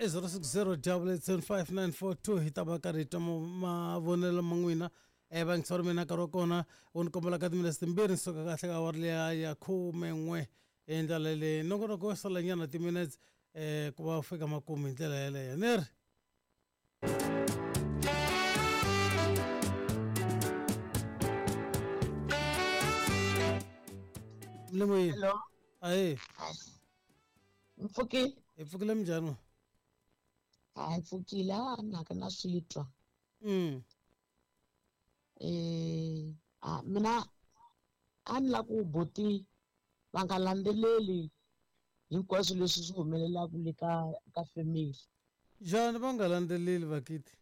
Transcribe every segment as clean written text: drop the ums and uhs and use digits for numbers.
I 060 875 hi ta va karhi hi twa mavonelo ma n'wina um vayingiseri mina nkarhi wa kona wu ni kombela ka timinetse timbirhi ni suka kahle ka awara liya ya 11 hi ndlela leyi nongonoko wo salanyana timinetse um ku va u fika makumu hi ndlela yeleyo ni ri Mlemoyini. Hello. Ahee. Mpfukile. Hi pfukile minjhani? Hayi pfukile a naka na swi twa. Eh, a mina a ni la ku buti va nga landzeleli hinkwaswo leswi swi humelelaka le ka family. Njhani va nga landzeleli vakiti?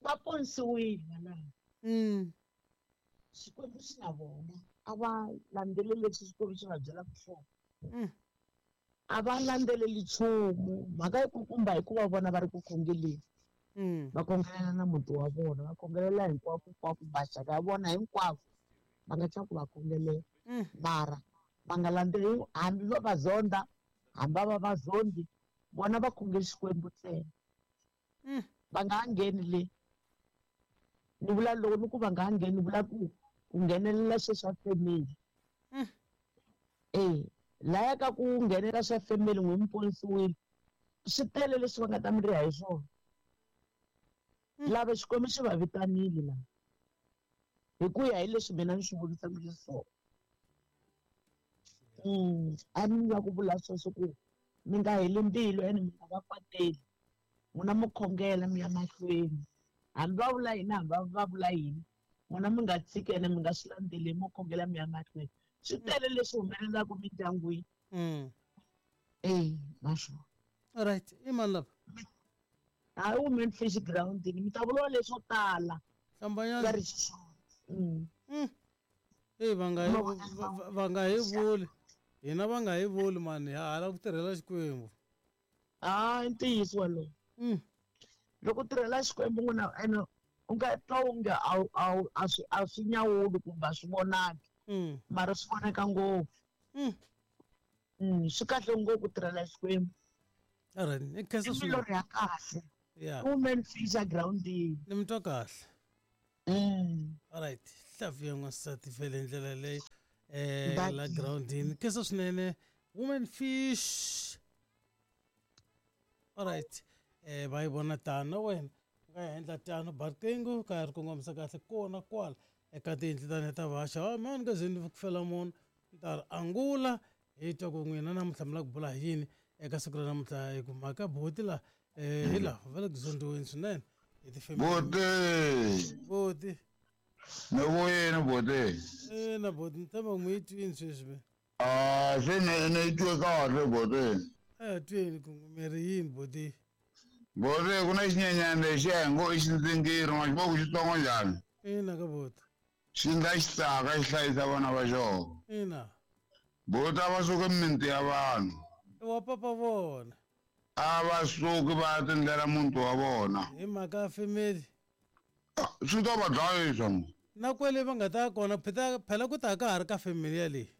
Va ponisiwile vana. Xikwembu xi na vona. A va landzeleli leswi Xikwembu xi va byelaka swona. A va landzeleli nchumu. Mhaka yi kulukumba hikuva vona va ri ku khongeleni. Va khongelela na muti wa vona, va khongelela hinkwako hinkwako, maxaka ya vona hinkwavo va nga twa ku va khongelela. Mara va nga landzeleli hambi va va zonda, hambi va va zondi, vona va khongela Xikwembu ntsena. Va nga ha ngheni le. Ni vula loko ni ku va nga ha ngheni, ni vula ku ku nghenelela swilo swa family. Eh, laya ka ku nghenela swa family n'wi mi ponisiwile. Swi tele leswi va nga ta mi riha hi swona. Lava Xikwembu xi va vitanile la. Hi ku ya hi leswi mina ni swi vonisaka xiswona. A ni la ku vula sweswo ku mi nga heli mbilu ene mi nga va kwateli. N'wina mi khongela mi ya mahlweni. Hambi va vula yini, hambi va vula yini, n'wina mi nga tshiki ene mi nga swi landzeleli, mo khongela mi ya mahlweni. Swi tele leswi humelelaka mindyangwini. Eh, naswona. All right, i mani lava? Hayi women fish ground mi ta vuriwa leswo tala. Hlambanyana. Va ri xiswona. Eyi va nga hi va nga hi vuli. Hina va nga hi vuli mani, ha hala ku tirhela Xikwembu. Ah, i ntiyiso wolowo. Loko u tirhela Xikwembu n'wina ene u nga twa onge a swi a swi nyawuli kumbe a swi vonaki. Mara swi vonaka ngopfu. Swi kahle ngopfu ku tirhela Xikwembu. All right, ni khensa I swinene. milorho ya kahle. Yeah. Women fisher groundini. Ni mi twa kahle. All right, hlavu ya n'wansati vhele hi ndlela leyi la groundini. Khensa swinene women fish. All right, va yi vona tano na wena u nga yi endla tano ba riqingho ka ri kongomisa kahle kona kwala eka tiyindlu ta ta vaxa. Mani nga ze ni ku fela munhu ni ta ri angula hi twa ku n'wina namuntlha mi lava ku bula hi yini eka siku ra namuntlha hi ku mhaka buti la hi laha va le ku zondiweni swinene hi tifemili. Buti. Buti. Ni vuyini buti? Ina buti, ni tshemba ku mi yi twini sweswi me. Ah, se ni yi twe kahle buti. A ya twini ku mi ri yini buti? Buti ku na xinyenyana lexiya hi ngo i xindzingiri, ma xi vona ku xitsongo njhani? Ina ka buti. Xi ndla xitsaka xi hlayisa vana va xona. Ina. Buti a va suki mimiti ya vanhu. I wa papa vona. A va suki va ya tindlela muti wa vona. Hi mhaka ya family. Swi ta va dlayisa mo. Na kwele va nga ta ya kona phela phela ku ta ka ha ri ka family yaleyi.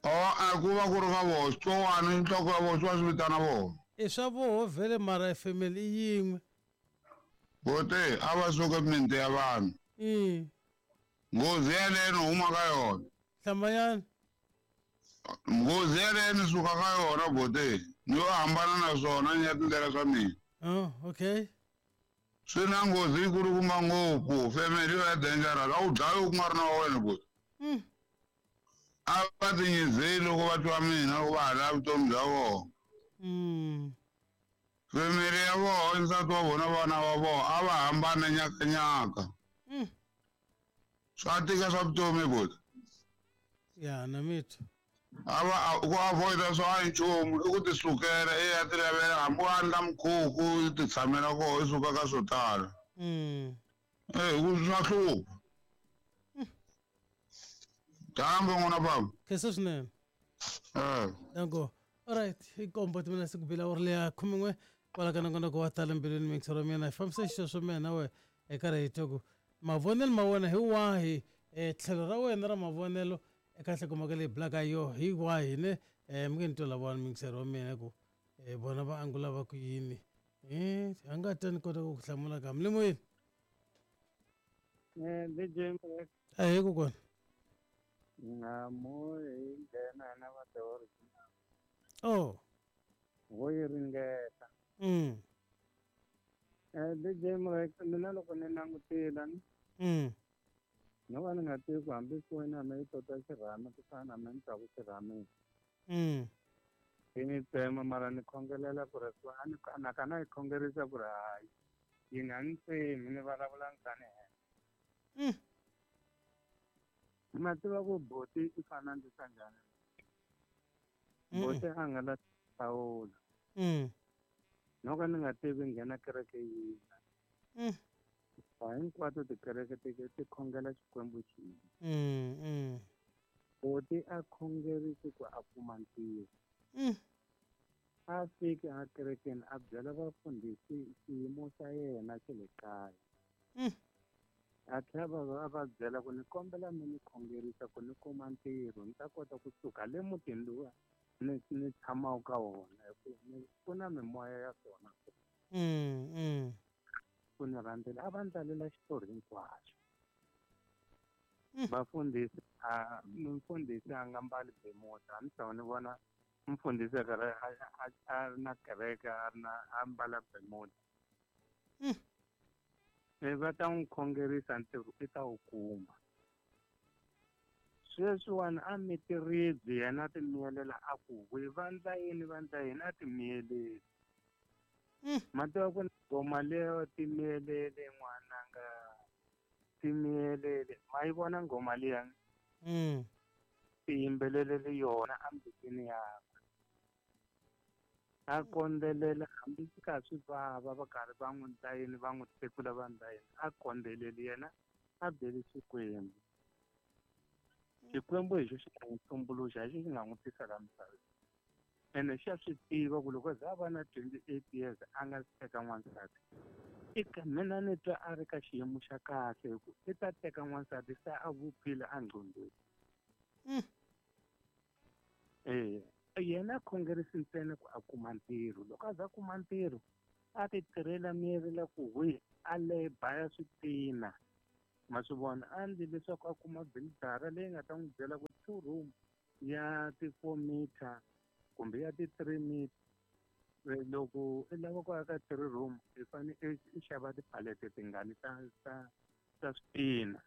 A ku va ku ri ka vona xitsongwana nhloko ya vona swi va swi vitana vona. I swa voho vhele mara family i yin'we. Buti a va suki mimiti ya vanhu. Nghozi yaleyo ni huma ka yona. Hlambanyana. Nghozi yaleyo ni suka ka yona buti. Ni yo hambana na swona ni ya tindlela swa mina. Oh, okay. Swi na nghozi yi kulukumba ngopfu. Family yo ya dangerous. A wu dlayi ku nga ri na wa wena buti. A va tinyizeli loko va twa mina loko va ha lava vutomi bya vona. Family ya vona, nsati wa vona, vana va vona a va hambana nyakanyaka. Swa tika swa vutomi buti. Ya na mitwa. A va ku avoid swa a nchumu i ku ti sukela i ya ti lavela hambi u andla mukhuku u ti tshamela kona i suka ka swo tala. Eh ku swa hlupha. Dyambu n'wana baba. Khensa swinene. Danko. All right, i kombo timina siku bila uri leya 11 kwala ka nongonoko wa tala mbilwini mixer wa mina hi fambisa xisweswo mina na wena eka ra hi twa ku mavonelo ma wena hi wahi tlhelo ra wena ra mavonelo eka nhlokomhaka leyi bulaka yo hi wahi ne mi nge ni twa lavawani mixer wa mina ku Vona va angula va ku yini? A nga ta ni kota ku ku hlamula kambe le moyeni. DJ Mrek. Ahee kokwana. Nhamu hi nghena na va the original. Oh. Vo yi ringeta. DJ Mrek, mina loko ni langutile ni. No va ni nga tivi ku hambi foni ya mina yi tota xirhami ku fana na mina ni twaku xirhami. Yi ni tsema mara ni khongelela ku ri a ni na ka na yi khongerisa ku ri hayi yi nga ni tsemi ni vulavula ni henhla. Ma tiva ku boti i fana a ndlisa njhani? Boti a nga la hlawula. No ka ni nga tivi nghena kereke yini. Hinkwato tikereke ti khongela Xikwembu xin'we. Boti a khongerisi ku a kuma ntirho. A fiki a kerekeni a byela vafundhisi xiyimo xa yena xa le kaya. A tlhela a va byela ku ni kombela mi ni khongerisa ku ni kuma ntirho ni ta kota kusuka le mutini luwa ni tshamaka ka wona hi ku ku na mimoya ya swona. Ku ni rhandzela a va ndlalela xitori hinkwaxo. Vafundhisi a mfundhisi a nga mbali bemuda a ni tshama ni vona mfundhisi a karhi a ri na kereke a ri na a mbala bemuda. Va ta n'wi khongerisa ntirho i ta wu kuma. Sweswiwani a miti ribye yena a ti miyelela a ku we vandla yini vandla yini a ti miyeleli. Ma tiva ku nghoma leyo ti miyelele n'wananga ti miyelele ma yi vona nghoma liya? Ti yimbelelele yona embilwini yakwe. A kondzelela hambi swi kha swi vava va karhi va n'wi ndla yini va n'wi hlekula va ndla yini a kondzeleli yena a byeli Xikwembu. Xikwembu hi xo xi nga n'wi tumbuluxa hi xo xi nga n'wi tisa la misaveni. Ene xa swi tiva ku loko za a va na 28 years a nga teka n'wansati. Eka mina ni twa a ri ka xiyimo xa kahle hi ku i ta teka n'wansati se a vupfile a ngqondweni. Yena a khongerisi ntsena ku a kuma ntirho. Loko a za a kuma ntirho a ti tirhela miyelela ku hwi a le baya switina. Ma swi vona a ndli leswaku a kuma bilidara leyi nga ta n'wi byela ku 2 room ya ti 4 meter kumbe ya ti 3 meter. Loko i lava ku aka 3 room i fanele i xava tipalete tingani ta switina.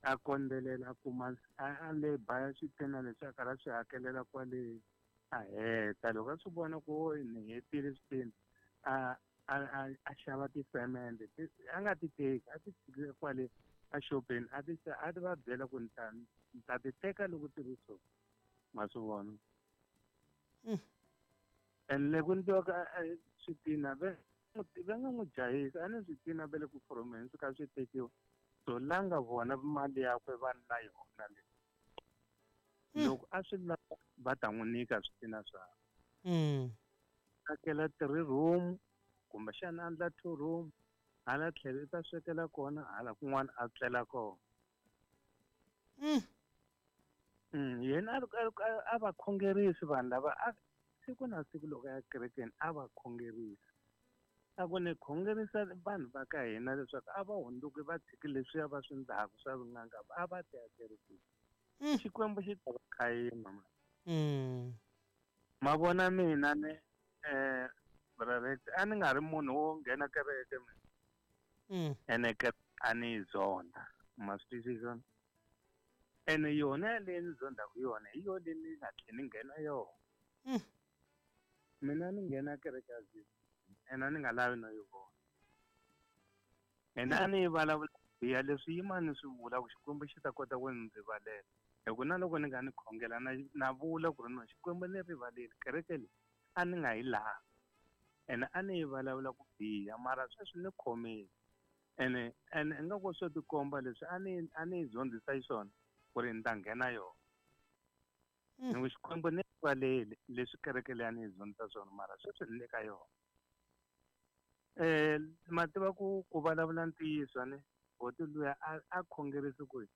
A kondzelela a kuma a le baya switina leswi a karhi a swi hakelela kwale a heta. Loko a swi vona ku ni hetile switina a xava tisemende a nga ti teki a ti tshikile kwale a xopeni a ti a ti va byela ku ni ta ti teka loko ti ri so. Ma swi vona? And loko ni tiva ka switina va nga n'wi jahisa a ni switina va le ku foromeni swi kha swi tekiwa. So la nga vona mali yakwe va na yona le. Loko a swi lava va ta n'wi nyika switina swakwe. Akela 3 room kumbexana a endla 2 room hala tlhelo i ta swekela kona hala kun'wana a tlela kona. Yena a va khongerisi vanhu lava siku na siku loko ya kerekeni a va khongerisi. A ku ni khongerisa vanhu va ka hina leswaku a va hundzuki va tshiki leswiya va swi ndlaku swa vun'anga a va ti akerekeni. Xikwembu xi ta va khayima ma. Ma vona mina ni brother a ni nga ri munhu wo nghena kereke mina. Ene a ni yi zonda. Ma swi twisisa? Ene yona leyi ni zondaku yona hi yona leyi ni nga tlheli ni nghena yona. Mina ni nghena kereke ya ZCC ene a ni nga lavi no yi vona. Ene a ni yi vulavula biha leswi yima ni swi vula ku Xikwembu xi ta kota ku ni rivalela. Hi ku na loko ni nga ni khongela na vula ku ri no Xikwembu ni rivaleli kereke leyi a ni nga yi lavi. Ene a ni yi vulavula ku biha mara sweswi ni khomile. Ene ingaku swo tikomba leswi a ni yi zondzisa xiswona ku ri ni ta nghena yona. Ni ku Xikwembu ni rivaleli leswi kereke leyi a ni yi zondzisa swona mara sweswi ni le ka yona. Ma tiva ku vulavula ntiyiso ni boti luya a khongerisi ku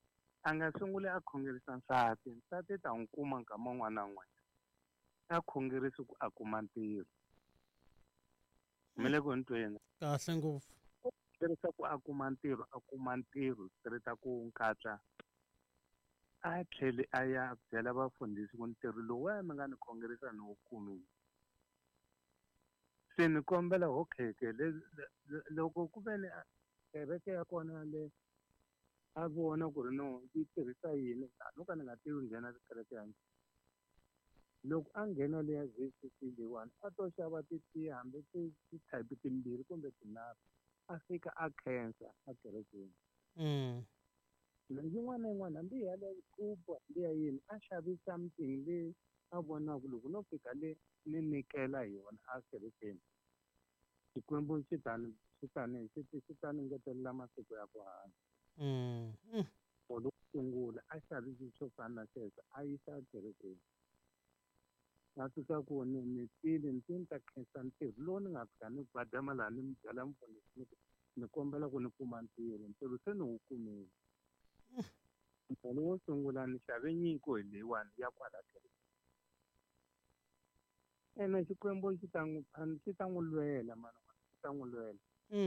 a nga sunguli a khongerisa nsati nsati ta n'wi kuma nkama wun'wana na wun'wanyana. A khongerisi ku a kuma ntirho. Mi le ku ni tweni? Kahle ngopfu. Khongerisa ku a kuma ntirho, a kuma ntirho straight ku nkatla. A tlhele a ya byela vafundhisi ku ntirho lowuya mi nga ni khongerisa ni wu kumile. Se ni kombela ho kheke loko ku ve ni kereke ya kona le a vona ku ri no yi tirhisa yini, a no ka ni nga tivi nghena kereke ya njhani. Loko a nghena le ya ZCC leyiwani a to xava titiya hambi ti-type timbirhi kumbe tinharhu, a fika a khensa a kerekeni. Yin'wana na yin'wana hambi ya le kupu hambi ya yini, a xavi something leyi a vonaka loko no fika le ni nyikela hi yona a kerekeni, Xikwembu xi ta ni xi ta ni xi xi ta ni ngetelela masiku ya ku hanya. Loko sungula a xavisi swo fana na sweswo a yisa ekerekeni, a fika ku ni ni tile ni tile ni ta khensa ntirho lowu ni nga fika ni badama laha ni mi byela mufundhisi ni ku ni kombela ku ni kuma ntirho, ntirho se ni wu kumile. Ntirho wo sungula ni xave nyiko hi leyiwani ya kwala kerekeni. Ene Xikwembu xi ta n'wi xi ta n'wi lwela mani, xi ta n'wi lwela.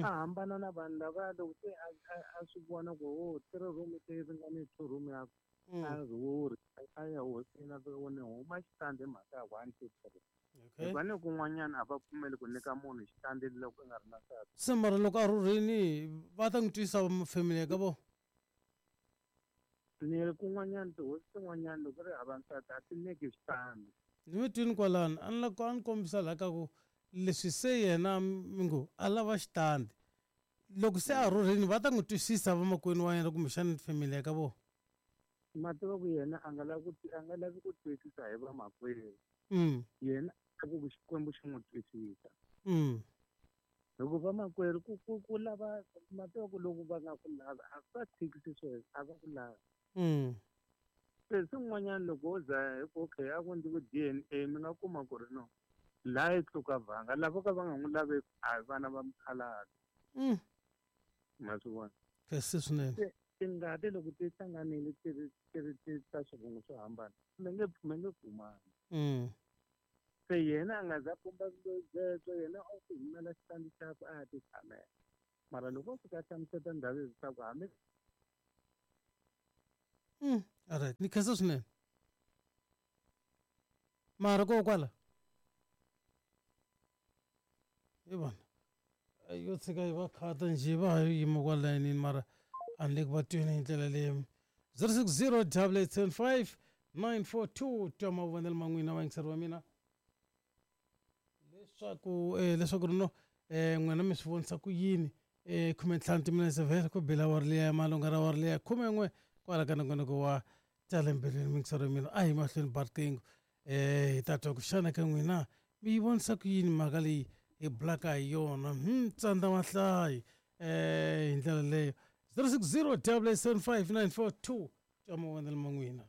A hambana na vanhu lava loko se a swi vona ku o 3 room se ringane 2 room ya a rhurhi a ya hosini a fika ku ni huma xitandi hi mhaka ya 1 2 3. Hikuva ni kun'wanyana a va pfumeli ku nyika munhu xitandi loko i nga ri na nsati. Se mara loko a rhurhini va ta n'wi twisa family ya ka vona? Ni ri kun'wanyana tihosi tin'wanyana loko ri hava nsati a ti nyiki xitandi. Ni mi twini kwalano, a ni la a ni kombisa laha ka ku leswi se yena mi ngo a lava xitandi, loko se a rhurhini va ta n'wi twisisa vamakwenu wa yena kumbexana family ya ka vona? Ma tiva ku yena a nga lavi ku a nga lavi ku twisisa hi vamakwerhu. Yena a ku Xikwembu xi n'wi twisisa. Hikuva vamakwerhu ku ku ku lava ma tiva ku loko va nga ku lavi a va tshikisi sweswo, a va ku lavi. Se swin'wanyana loko wo za hi ku okay a ku endliwi DNA mi nga kuma ku ri no laha yi tluka vhanga lava ka va nga n'wi laveki a hi vana va mukhalabye. Ma swi vona? Kahle swinene. Se tingati loko ti hlanganile ti ri ti ri ti ta swivongo swo hambana mi nge mi nge kumani. Se yena a nga za pumba byebyo, yena o ti humela xitandi xakwe a ya ti tshamela. Mara loko o fika a hlamuseta ndhawu leswaku hambi Alright, ni khensa swinene. Mara ko kwala hi vona yo tshika yi va khata njhe va ha yima kwala layinini, mara a ni le ku va tweni hi ndlela leyi. 060 875 942 twa mavonelo ma n'wina vayingiseri va mina leswaku leswaku ri no n'wina mi swi vonisa ku yini. 15 timinetse vhele ku bela awara liya ya malunga ra awara liya 11 kwala ka nongonoko wa tala mbilwini miyingiseri wa mina. A hi mahlweni ba riqingho hi ta twa ku xana ka n'wina mi yi vonisa ku yini mhaka leyi hi bulaka hi yona. Tsandza mahlayi hi ndlela leyo. 060 875 942 twa mavonelo ma n'wina.